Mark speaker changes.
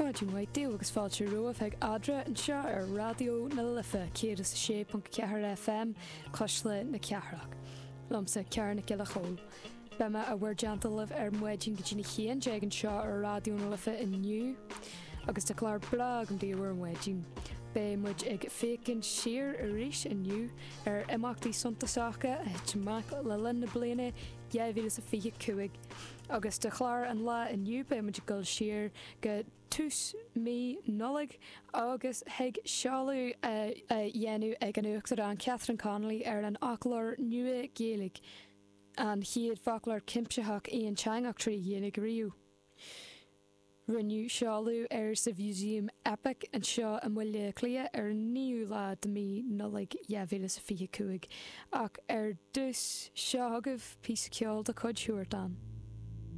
Speaker 1: Maidin mhaith daoibh agus fáilte romhaibh chuig Eadra anseo ar Raidió na Life 106.4 FM, Cuisle na Cathrach. Liomsa, Ciara Nic Giolla Chóill. Beidh mé i bhur dteannta libh ar maidin go dtí na 11 anseo ar Raidió na Life inniu agus tá clár breá agam daoibh ar maidin. Beidh muid ag féachaint siar arís inniu ar imeachtaí suntasacha a thit amach le linn na bliana 2025. Agus do chlár an lae inniu beidh muid ag dul siar go tús mí Nollag agus chuig seoladh a dhéanamh ag an Uachtarán Catherine Connolly ar an fhoclóir nua Gaeilge, an chéad foclóir cuimsitheach aonteangach trí Ghaeilge riamh. Rinneadh seoladh air sa Mhúsaem Eipic anseo i mBaile Átha Cliath ar an 9ú lá de mhí Nollag 2025. Ach ar dtús, seo chugaibh píosa ceoil de chuid Huartan.